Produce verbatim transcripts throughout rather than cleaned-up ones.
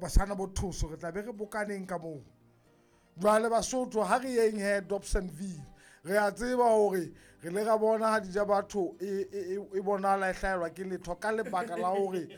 Basana bo thuso re tla be re bokaneng ka moo. Jwale Basotho ha re yeng he Dobsonville, re a tseba hore re le ra bona ha dija batho e e e bonahala e hlahelwa ke letho ka lebaka la hore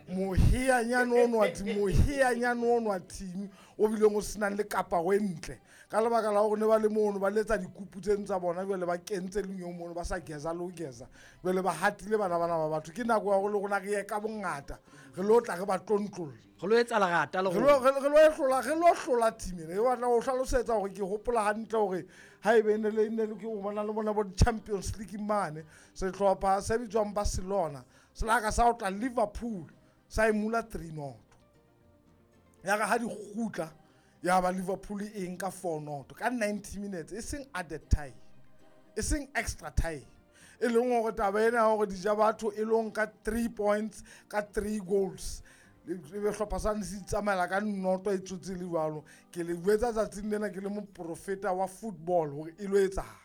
moheanyane ono wa team, moheanyane ono wa team o bileng o senang le kaparo e ntle ka lebaka la hore ne ba le mono ba letsa dikupu tseno tsa bona, jwale ba kentse lenyong mono ba sa geza le ho geza, jwale ba hatile bana bana ba batho. Ke nako ya hore le rona re ye ka bongata re lo tla re ba tlontlolla, re lo etsa lerata le re lo re lo hlola re lo hlola team ena. Ke batla ho hlalosetsa hore ke hopola hantle hore ha ebe ne le ne le ke o bona le bona bo Champions League mane, sehlopha se bitswang Barcelona se la ka sa otla Liverpool sa e mula three nought. Ya re ha di kgutla ya ba Liverpool e nka four nought ka ninety minutes, e seng added time, e seng extra time, e leng hore taba ena ya hore dija batho e lo nka three points ka three goals, e be hlopha sane se itsamaela ka noto e tsotse le jwalo. Ke le jwetsa tsatsing lena ke le moprofeta wa football hore e lo etsahala.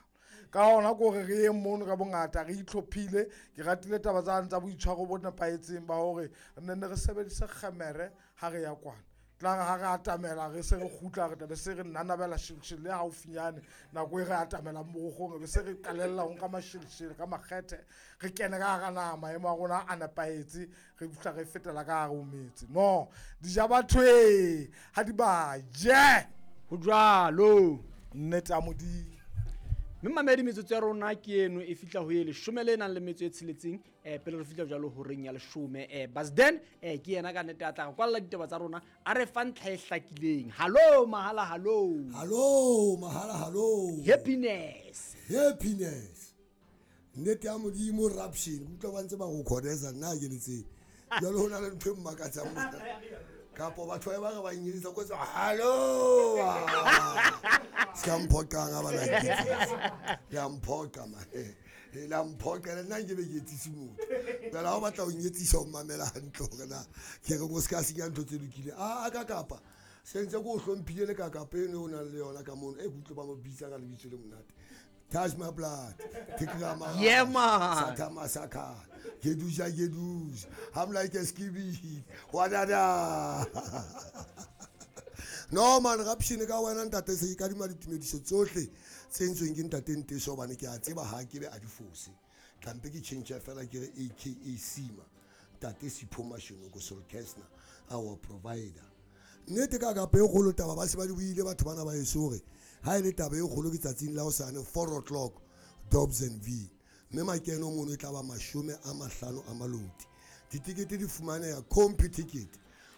Ka hona ke hore re ye mono ka bongata re itlhophile. Ke ratile taba tsane tsa boitshwaro bo nepahetseng ba hore re nne re sebedise kgemere ha re ya kwana. Tla re ha re atamela re se re kgutla re tla be se re nanabela shilshile le haufinyane nako e re atamelang borokgong, re be se re qalella ho nka mashilshile ka makgethe, re kene ka hara naha, maemo a rona a nepahetse, re fihla re fetela ka hare ho metse. No, dija batho e ha di ba je. Ho jwalo. Nnete ya Modimo. Mme mamedi metsotso ya rona ke eno e fihla ho e leshome le nang le metso e tsheletseng, eh, pele re fihla jwalo horeng ya leshome. Eh, Basden, eh, ke yena ka nnete a tla re kwalla ditaba tsa rona, a re fa ntlha e hlakileng. Hallo mahala, hallo. Hallo mahala, hallo. Happiness. Happiness. Nnete ya Modimo raption, ke utlwa ba ntse ba go khodesa nna ke le tsebe. Jwale ho na le ntho e mmakatsang mona. Kapo batho ba ba re ba nnyedisa ko tsa hallo. Se ka mphoqang ha ba na nketsisa. Le a mphoqa man. Eh, le a mphoqa, le nna nke be ke etsise motho. Jwale ha o batla ho nyetsisa o mamela hantle hore na ke re o se ka senya ntho tse lokileng. A, a ka kapa se ntse ke o hlomphile le ka kapa eno o nang le yona ka mono. E ke utlwe ba mo bitsa ka lebitso le monate. Touch my blood. Take my Yeah, man. Sata masaka. Geduja, geduja. I'm like a skibby. Wadada. No man, rapshine ka wena ntate se ka dima ditumediso tsohle tse ntsweng ke ntate Nteso hobane ke a tseba ha ke be a di fose. Tlampe ke change fela ke re A K A Sima. Ntate Sipho Mashonoko Solkesna, our provider. Nnete ka kapa e kgolo taba ba se ba di buile batho bana ba heso hore ha e le taba e kgolo ke tsatsing la hosane four o'clock Dobsonville. Mme makeno mono e tla ba mashome a mahlano a maloti. Ditikete di fumaneha Computicket.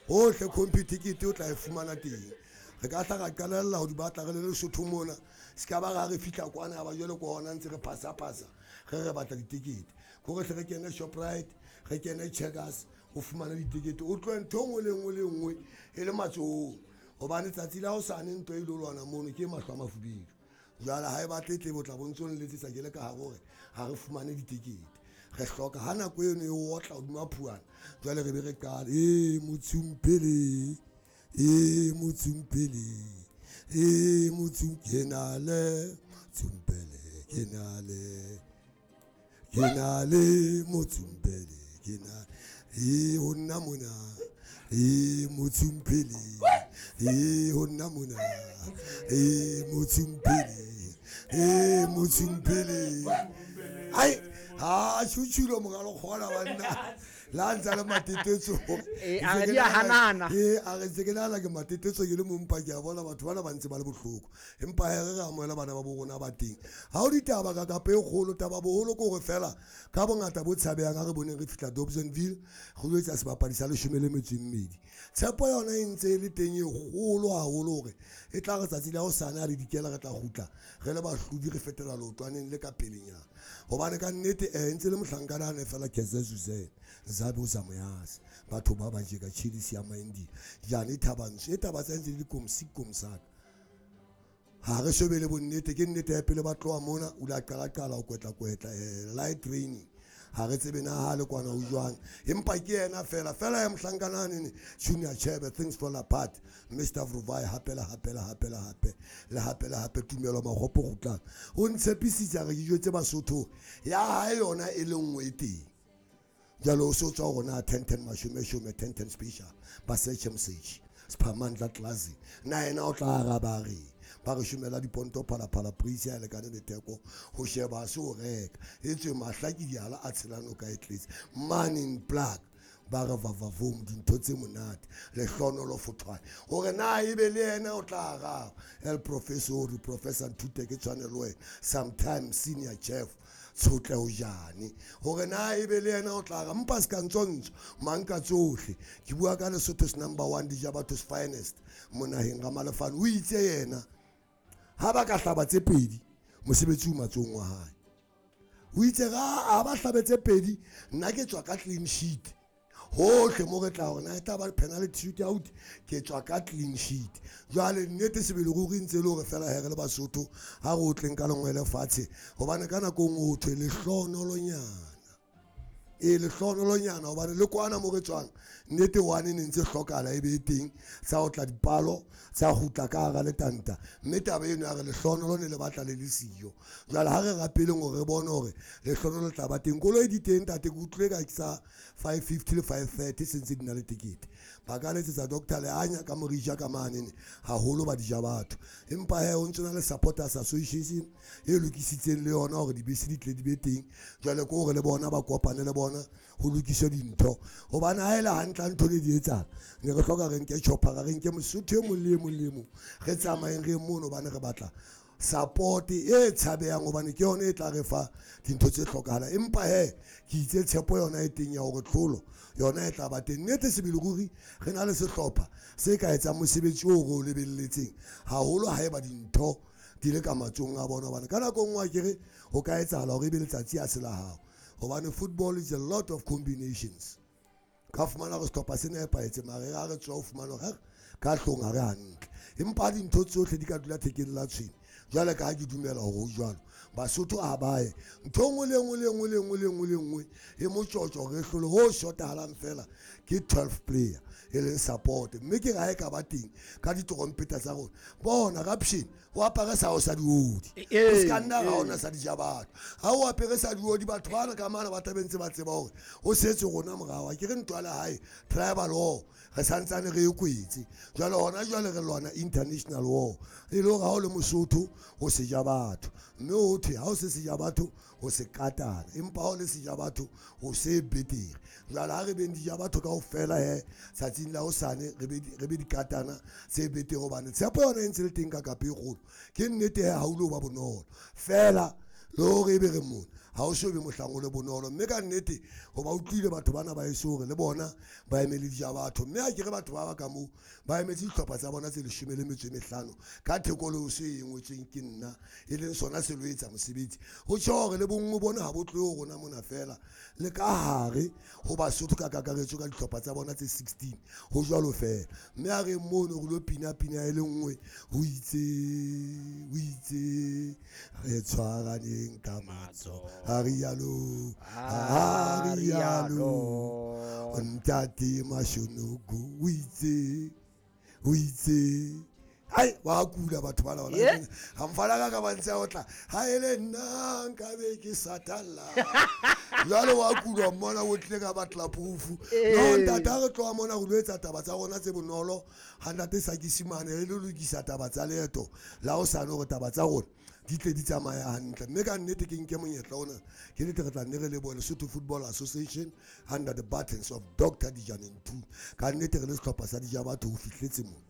Hohle Computicket o tla e fumana teng. Re ka hla ra qalella ho di batla re le Lesotho mona. Se ka ba ra re fihla kwana ya ba jwale ke hona ntse re phasa-phasa, re re batla ditikete. Ke hore hle re kene Shoprite, re kene Checkers, o fumane ditikete. O tlohe ntho e nngwe le nngwe le nngwe e le matsohong. Hobane tsatsi la hosane ntho e ilo lwana mono ke mahlo a mafubedu. Jwale ha e batle tlebe o tla bo ntso nletsetsa ke le ka hare hore ha re fumane ditikete. Re hloka ha nako eno e otla hodima phuana, jwale re be re qala, e motsumpele, e motsumpele, e motsum ke na le motsumpele, ke na le, ke na le motsumpele, ke na, e ho nna mona, e motsumpele, e ho nna mona, e motsumpele, e motsumpele. Ai, ha tjhutjhulo moralo kgola banna. La ntsa le matetetso. Eh, a re di a hanana. Eh, a re ntse ke nahana ke matetetso ke le mong pa ke a bona batho bana ba ntse ba le bohloko. Empa he re re amohela bana ba bo rona ba teng. Ha ho ditaba ka kapa e kgolo, taba boholo ke hore fela ka bongata bo tshabehang ha re boneng re fihla Dobsonville, re lo etsa sebapadi sa leshome le metso e mmedi. Tshepo yona e ntse e le teng e kgolo haholo hore e tla re tsatsi la hosane ha re dikela re tla kgutla re le bahlodi re fetela leotwaneng le ka pelenyana. Hobane ka nnete, eh, ntse le mohlankana a ne fela Kaizer Suzanne, Zabe o sa moyase. Batho ba ba je ka tjhidisi ya Maindi. Jane Thabantsho, e taba tsa ntse di le komsi komsaka. Ha re shebe le bonnete, ke nnete ya pele ba tloha mona, o la qala qala ho kwetla kwetla, eh, light training. Ha re tsebe na ha le kwana ho jwang. Empa ke yena fela, fela ya mohlankana nene, Junior Chebe, things fall apart. Mister Vruvai, hape le hape le hape le hape, le hape le hape, tumelo makgopo kgutlang. O ntshepisitse a re dijo tse Basotho, ya hae yona e le nngwe e teng. Jwale o so tswa rona ten ten mashome shome ten ten special ba search message Sphamandla Classy na yena o tla araba re ba re shumela diponto phalaphala price ya lekane le theko ho sheba se o reka etswe mahla ke diala a tshelano ka e tletse man in black ba re vavavoom dintho tse monate lehlohonolo Fothwane hore na ebe le yena o tla araba el professor professor Nthute ke tshwanelo wena sometimes senior chef tshotle ho jane hore na ebe le yena o tla ra mpa ska ntsontso mang ka tsohle ke bua ka Lesotho's number one dija batho's finest monaheng ga Malefane o itse yena ha ba ka hlaba tse pedi mosebetsi o matsong wa hae o itse ga a ba hlabe tse pedi nna ke tswa ka clean sheet hohle mo re tla hore na e tla ba penalty shoot out ke tswa ka clean sheet jwale nnete sebele ruri ntse le hore fela he re le Basotho ha re otleng ka lengwe lefatshe hobane ka nako nngwe o thwe lehlohonolonyana e lehlohonolonyana hobane le kwana mo re tswang nnete one ne ntse hlokahala e be teng tsa ho tla dipalo tsa kgutla ka hara letanta mme taba eno ya re lehlohonolo ne le batla le le siyo jwale ha re rapeleng hore re bone hore lehlohonolo le tla ba teng koloi di teng ntate ke utlwile ka sa five fifty le five thirty se ntse di na le tekete ba ka letsetsa doctor Leanya ka morija ka manene haholo ba dija batho empa he o ntse na le supporters association e lokisitseng le yona hore dibese di tle di be teng jwale ke hore le bona ba kopane le bona ho lokiswe dintho hobane ha ele hantle ntho le di etsang ne re hloka re nke chopper re nke Mosotho e mong le e mong le e mong re tsamayeng re mono hobane re batla support e tshabehang hobane ke yona e tla re fa dintho tse hlokahalang empa he ke itse tshepo yona e teng ya hore tlholo yona e tla ba teng nnete sebele ruri re na le sehlopha se ka etsang mosebetsi oo re o lebelletseng haholo haeba dintho di le ka matsong a bona hobane ka nako nngwe akere ho ka etsahala hore ebe letsatsi a se la hao hobane football is a lot of combinations ka fumana hore sehlopha se nepahetse mare ha re tswa ho fumana hore ka hlong ha re hantle empa dintho tsohle di ka dula thekeng la tshwene jwale ka ha ke dumela hore ho jwalo Basotho ha ba ye ntho e nngwe le nngwe le nngwe le nngwe le nngwe le nngwe e motjotjo re hlole ho shotahalang fela ke twelve player e leng support mme ke re ha e ka ba teng ka ditrompeta tsa rona bona raption o apare sa o sa diodi o se ka nna ra ona sa dija batho ha o apere sa diodi batho bana ka mana ba tlabe ntse ba tseba hore o setse rona morao ke re ntwa le hae tribal war re santsane re e kwetse jwale hona jwale re lwana international war e le hore ha o le Mosotho o seja batho mme o thwe ha o se seja batho o se katana empa ha o le seja batho o se betere jwale ha re beng dija batho kaofela he tsatsing la hosane re be re be dikatana tse betere hobane tshepo yona e ntse le teng ka kape e kgolo ke nnete he ha o lo ba bonolo fela le hore ebe re mona ha o so be mohlang o le bonolo mme ka nnete ho ba utlwile batho bana ba eso hore le bona ba emele dija batho mme ha ke re batho ba ba ka moo ba emetse dihlopha tsa bona tse leshome le metso e mehlano ka theko le o se e ngotsweng ke nna e leng sona se lo etsa mosebetsi ho tjho hore le bonngwe bona ha bo tlohe ho rona mona fela le ka hare ho Basotho ka kakaretso ka dihlopha tsa bona tse sixteen ho jwalo fela mme ha re mono re lo pina pina e le nngwe ho itse ho itse re tshwaraneng ka matsoho ha rialo ha rialo ntate Mashonoko o itse o itse ai wa kula batho bana bana ha mfana ka ka ba ntse o tla ha ele nna nka be ke satalla jwale wa kula mmona o tle ka batla proof no ntate ha re tloha mona re lo etsa taba tsa rona tse bonolo ha ntate Sakisimane re lo lokisa taba tsa leeto la o sane hore taba tsa rona di tle di tsamaya hantle mme ka nnete ke nke monyetla ona ke nnete re tla nne re lebohe Lesotho Football Association under the buttons of Doctor Dijane Ntuli ka nnete re le sehlopha sa dija batho ho fihletse mona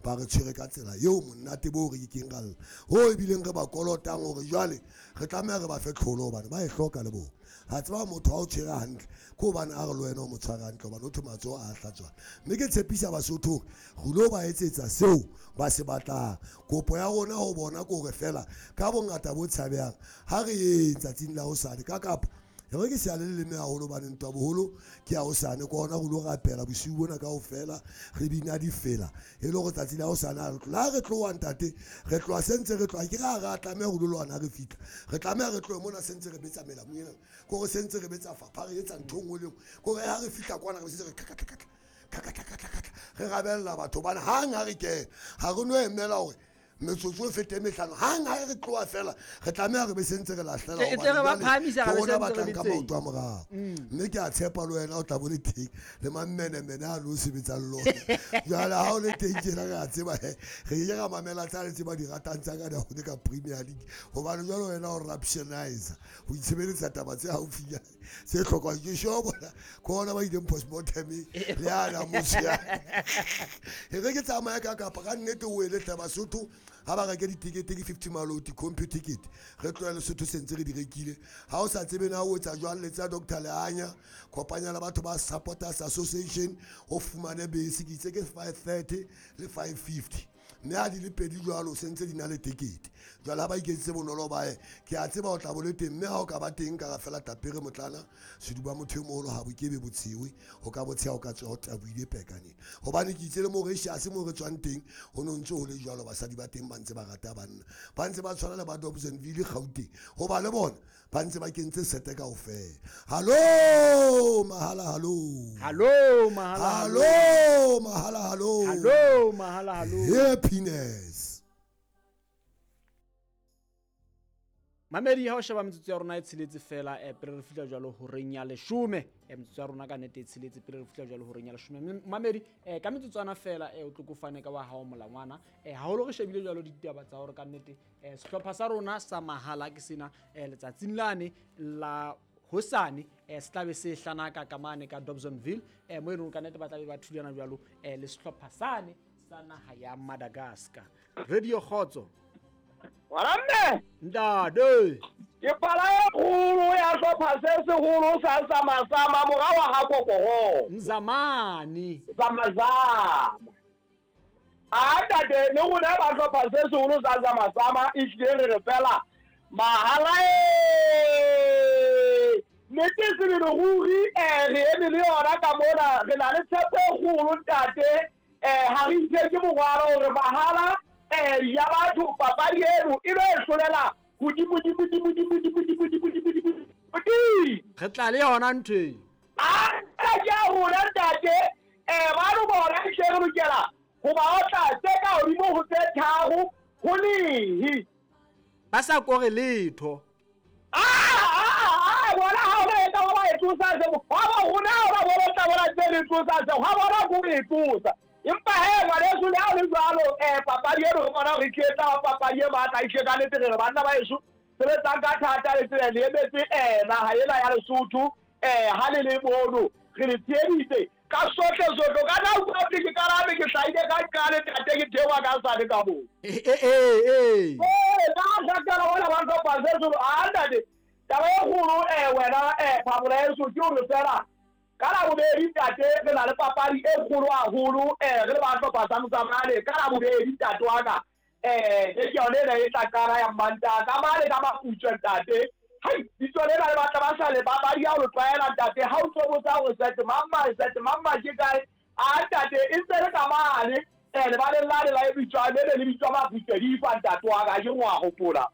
ba re tshwere ka tsela eo monate bo re keng ra lla ho ebileng re ba kolotang hore jwale re tlameha re ba fe tlholo hobane ba e hloka le bona ha tseba motho ha o tshwere hantle ke hobane a re le wena o mo tshware hantle hobane o thwe matsoho a hlatswana mme ke tshepisa Basotho hore re lo ba etsetsa seo ba se batlang kopo ya rona ho bona ke hore fela ka bongata bo tshabehang ha re yeng tsatsing la hosane ka kapa re ke se le leleme haholo hobane ntwa boholo ke ya hosane ke hona re lo rapela bosiu bona kaofela re bina difela e le hore tsatsi la hosane ha re tloha re tloha ntate re tloha sentse re tloha ke re ha re a tlameha ho lo lwana re fihla re tlameha re tlohe mona sentse re betsa melamu ena ke hore sentse re betsa fapha re etsa ntho e nngwe le nngwe ke hore ha re fihla kwana re sentse re khatla khatla khatla khatla re rabella batho hobane hang ha re kena ha re no emela hore Metsotso e fete mehlano hang ha re tloha fela re tlameha re be sentse re lahlela E tle re ba phahamisa ke re rona be ba sentse re tlang ka le teng. maoto a morao mme ke a tshepa le wena o tla bo le teng le mammenemene a le o sebetsang le ona jwale ha o le teng tjena re a tseba he re ke ra mamela tsa le tse ba di ratang tsa ka di ka Premier League hobane jwale wena o raptionizer o itshebeletsa taba tse haufinyane tse hlokwang ke sure bona ke ona ba ileng postmortem le ana motho ya e re ke tsamaya ka kapa ka nnete o ele hle Basotho ha ba reke ditekete ke fifty maloti compu ticket re tlohele Sotho sentse re di rekile ha o sa tsebe na o etsa jwang letsa Doctor Leanya kopanya le batho ba Supporters Association o fumane bese ke itse ke five thirty le five fifty mme ha di le pedi jwalo sentse di na le tekete jwale ha ba iketsitse bonolo ba ye ke a tseba o tla bo le teng mme ha o ka ba teng ka ra fela tapere motlana seduba motho e moholo ha bo kebe botshewe o ka botsheha o ka tswa o taboile pekaneng hobane ke itse le Mauritius mo re tswang teng ho no ntse ho le jwalo basadi ba teng ba ntse ba rata banna ba ntse ba tshwana le ba Dobsonville Gauteng hoba le bona ba ntse ba kentse sete kaofela. Hallo mahala hallo hallo mahala hallo mahala hallo hallo mahala hallo happiness. Mamedi ha o sheba metsotso ya rona e tsheletse fela eh pele re fihla jwalo horeng ya leshome eh metsotso ya rona ka nete e tsheletse pele re fihla jwalo horeng ya leshome. Mamedi eh ka metsotswana fela eh o tlo kofane ka wa hao molangwana eh haholo re shebile jwalo ditaba tsa hore ka nnete eh sehlopha sa rona sa mahala ke sena eh letsatsing lane la hosane eh se tlabe se hlanaka ka mane ka Dobsonville eh mo e leng ka nnete ba tlabe ba thulana jwalo eh le sehlopha sane sa naha ya Madagascar. Radio Kgotso. Wala mme ntate ke pala e kgolo ya hlopha se seholo sa Zamasama mora wa ha Kokoro Nzamani Zamazama. A ntate le rona ba hlopha se seholo sa Zamasama e hlile re re fela mahala e nnete sebele ruri eh re eme le yona ka mona re na le tshepo e kgolo ntate eh ha re itse ke morwalo hore mahala eh ya batho papadi eno e lo e hlolela hodimo dimo dimo dimo dimo dimo dimo dimo dimo re tla le yona ntho e a ke a rona ntate eh ba lo bona hle re lokela ho ba otla tse ka hodimo ho tse tharo ho lehe ba sa kore letho a a a bona ha o etsa ba e tsosa se ha ba rona ba bona tla bona tse re tsosa se ha bona go e tsosa empa he ngwaneso le ha o le jwalo eh papadi eno re bona hore ke etsa papadi e matla e hle ka nnete re re banna ba heso sebetsang ka thata le tsela le emetse eh naha ena ya Lesotho eh ha le le mono re le tsheheditse ka sohle sohle ka na utlwa ke karabe ke hlahile ka qale tate ke theoha ka sane ka moo eh eh eh eh ka hlakala bona ba hlopha se seholo a ntate taba e kgolo eh wena eh phamola heso ke hore fela ka labobedi ntate re na le papadi e kgolo haholo eh re le ba hlopha sa Motsamane ka labobedi ntate wa ka eh ke yone ena e tla qala ya Mantaha ka mane ka Maputswe ntate hai bitso lena le batla ba sa le papadi ya ho tlwaela ntate ha o tlo botsa hore sete mamma sete mamma ke kae a ntate e ntse le ka mane eh lebaleng lane la e bitswa le le bitswa Maputswe difa ntate wa ka ke ngwa hopola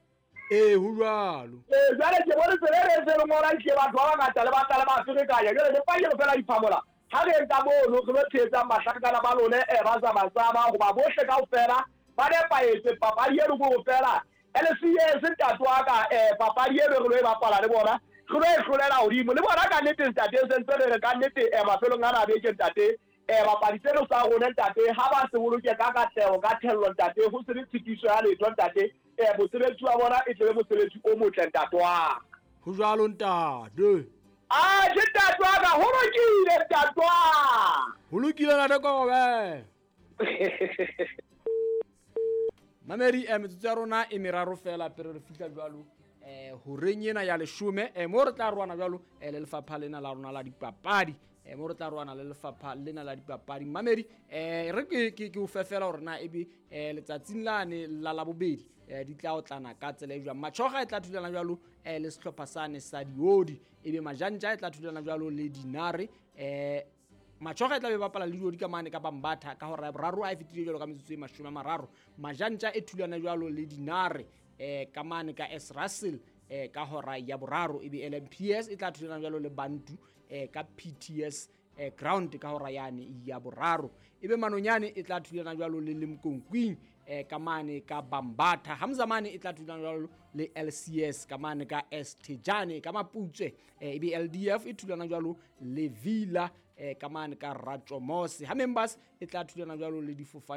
eh ho jwalo eh jwale ke bone tsela e se le ngola ke batho ba bangata le batla le ba ferekanya jwale le pake fela diphamola ha re nka mono re lo tshehetsang bahlankana ba lone eh ba Zamasama hoba bohle kaofela ba nepahetse papadi eno ke ho fela L C S ntate wa ka eh papadi eno re lo e bapala le bona re lo e hlolela hodimo le bona ka nnete ntate se ntse re re ka nnete eh mafelong ana a beke ntate eh bapadi tseno sa rona ntate ha ba se boloke ka katleho ka thello ntate ho se le tshitiso ya letho ntate eh mosebetsi wa bona e tlebe mosebetsi o motle ntate wa ka ho jwalo ntate a ke ntate wa ka ho lokile ntate wa ho lokile ntate Kobe Mamedi eh metsotso ya rona e meraro fela pele re fihla jwalo eh horeng ena ya leshome eh mo re tla roana jwalo eh le lefapha lena la rona la dipapadi eh mo re tla roana le lefapha lena la dipapadi. Mamedi eh re ke ke o fefela hore na ebe eh letsatsing lane la labobedi eh di tla otlana ka tsela e jwang. Machoga e tla thulana jwalo eh le sehlopha sane sa Diodi ebe Majantja e tla thulana jwalo le Dinare eh Machoga e tla be bapala le Diodi ka mane ka Bambatha ka hora ya boraro a e fetile jwalo ka metsotso e mashome a mararo. Majantja e thulana jwalo le Dinare eh ka mane ka S Russell eh ka hora ya boraro ebe L M P S e tla thulana jwalo le Bantu eh ka P T S eh, ground ka hora yane ya boraro. Ebe Manonyane e tla thulana jwalo le Limkokwing eh, ka mane ka Bambatha. Hamzamane e tla thulana jwalo le L C S ka mane ka Estejane ka Maputswe. Eh, ebe L D F e thulana jwalo le Villa eh, ka mane ka Ratjomose. Ha Members e tla thulana jwalo le Difofane